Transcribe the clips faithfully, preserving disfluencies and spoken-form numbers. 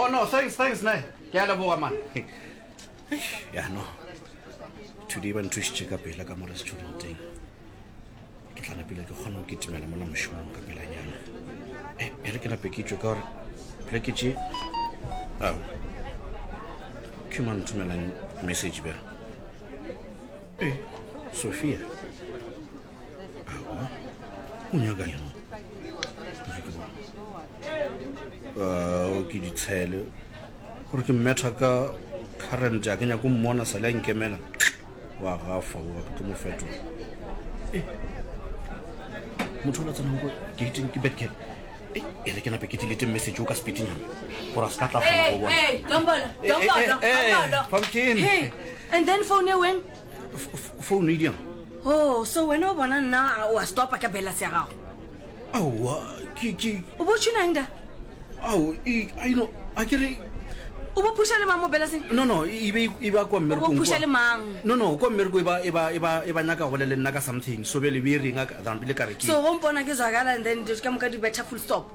Oh no, thanks, thanks ne. Ke a leboga man. Ya no. Today ba nthušitše ka pela ka mo restauranteng. Ke tla napile ke kgona go kitimela mola mošomong ka pelanyana. E, e re ke nape ke tšwe ka gore pleke tše. Ao. Ke mang nthomelang message bjang? E, Sophia. Aowa. O nyaka eng? Uh, ke ditshele gore ke mmetha ka current a ke nyako mmona sa le a nkemela wa gafa wa ke tlo mo fetola e motho o la tsenang ko gating ke bedcat e e re ke nape ke delete message o ka speedinyana gore a se ka tla kgona go bona Hey, Dombolo, Eh, eh, Dombolo, eh, Dombolo. Pumpkin. Hey, and then phone e weng? Phone e diang Oh, so wena o bona nna o a stopa ka balance ya gago. Aowa, ke ke O bo tshunang da? Ao, e I know, a ke re O bo phusha le mang mo balanceng? No no, e be e ba kwa O bo mmerekong phusha kwa. le mang? No no, kwa mmereko e ba e ba e ba e ba nyaka go bolela le nna ka something. So bjale be e reng a ka than pele ka re ke. So go mpona ke zwakala and then dilo ka moka di betha full stop.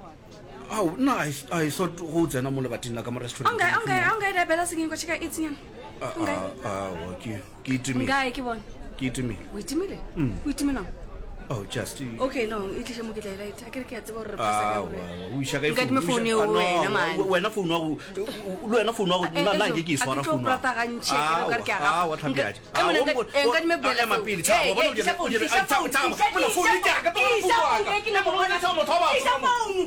Ao, nna I I thought go tsena mo lebating la ka mo restaurant. Ongae, ongae, ongae da balanceng kwa cheka eight nyana. Ongae. Aowa, ke ke itimile. Ongae ke bone. Ke itimile. O itimile? O itimelang? Oh, just. Okay, no, e tliše mo ke tla e light. A ke re ke a tseba gore re phasa ka Aowa, gore. o iša kae Nkadime phone? phone eo Ah, no, wena, man. wena phone wa go le wena phone wa go Eh, nna nna eh, nke ke e a ke swara tlo phone wa prata gantši, ke re o ka re ke a gafa. Aowa, tlhapi Nka- eh, monna, nka- eh, nkadime bela ema phone. pele Hey, thabo bona hey, o dira tliša o phone, dira tliša ah, thabo phone, thabo tliša- mona phone tliša ke ya ka phone, tloga tliša phone wa phone, ka ke nyaka go Mona bona. tšhaba motho wa batho Tliša ka mo. phone.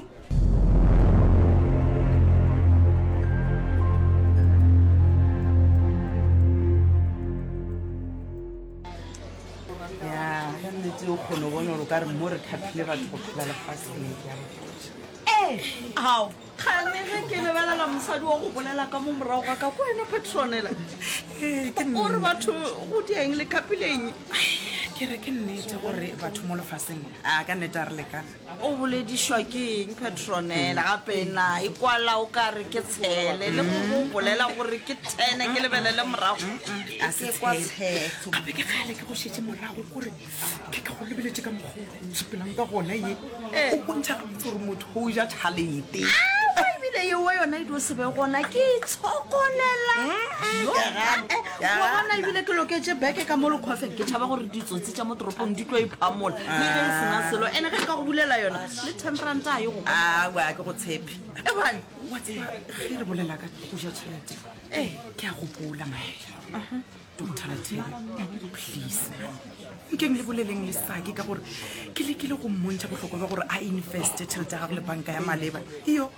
Ya, ka nnete o kgone go bona gore o ka re mo re khaphile batho go phela lefaseng ke a botša. Ee, ao kgane ge ke lebelela mosadi wa go bolela ka mo morago ga ka ko wena Petronela. Ee, ke O re batho go dieng le khapileng. Ke re ke nnete gore batho mo lefaseng a ka nnete a re lekana. O boledišwa ke eng Petronela gape na e kwala o ka re ke tshele le go go bolela gore ke thene ke lebelele morago. A se Ke kwa tshele. tshetho. Gape ke kgale ke go šetše morago kore ke ka go lebeletše ka mokgwa o sepelang ka gona ye. O bontšha gabotse gore motho o ja tšhalete. Aowa, ebile yeo yona e dio se be gona ke itshokolela. Yo, eh, wa bona ebile ke loketše beke ka mo lekgwafeng ke tšhaba gore ditsotsi tša mo toropong di tlo iphamola le ge e sena selo ene ge nka go bulela yona le ten ranta a ye go Aowa, ke go tshepe. Ebane. Wa tseba ge re bolela ka go ja tšhelete ke a gopola maela Doctor Rathebe, please nkeng le boleleng le sake ka gore ke lekile go mmontšha bohlokwa ba gore a investe tšhelete ya gago le banka ya maleba iyo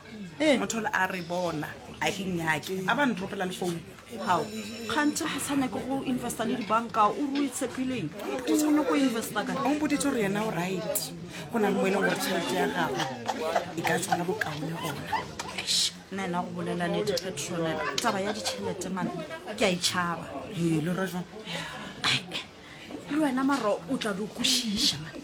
motho ole a re bona a ke nyake a ba ntropela le founu Hao, kganthe ga sa nyake go investa le dibanka o re o itshepileng o nyako investa kae o mpoditse gore yena o right go na le mo e leng gore tšhelete ya gagwe e ka tswala bokaone gona Eish, nna ena go bolela nnete Petronela taba ya ditšhelete mane ke a itšhaba ee le ra jang Ai, le wena maro o tla di kwešiša man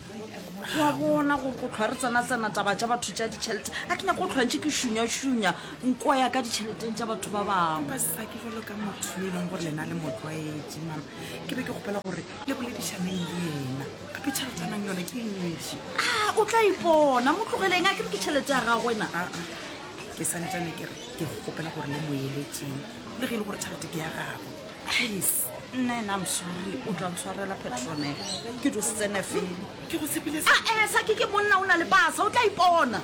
wa bona gore go tlhwa re tsena-tsena taba tša batho tša ditšhelete a ke nyako go tlhwa ntše ke šunya-šunya nko ya ka ditšheleteng tša batho ba bangwe ba sake jalo ka motho yo e leng gore lena le motlwaetše mama ke be ke gopela gore le boledišaneng le yena gape tšhelete a nang yone ke e ntši a o tla ipona mo tlogeleng a ke re ke tšhelete ya gagwe na aa ke santsane ke re ke gopela gore le mo eletseng le ge e le gore tšhelete ke ya gagwe please nna ena I'm sorry o tla ntshwarela Petronela ke dio se tsene fele ke go tshepile a e sake ke monna o na le pasa o tla ipona.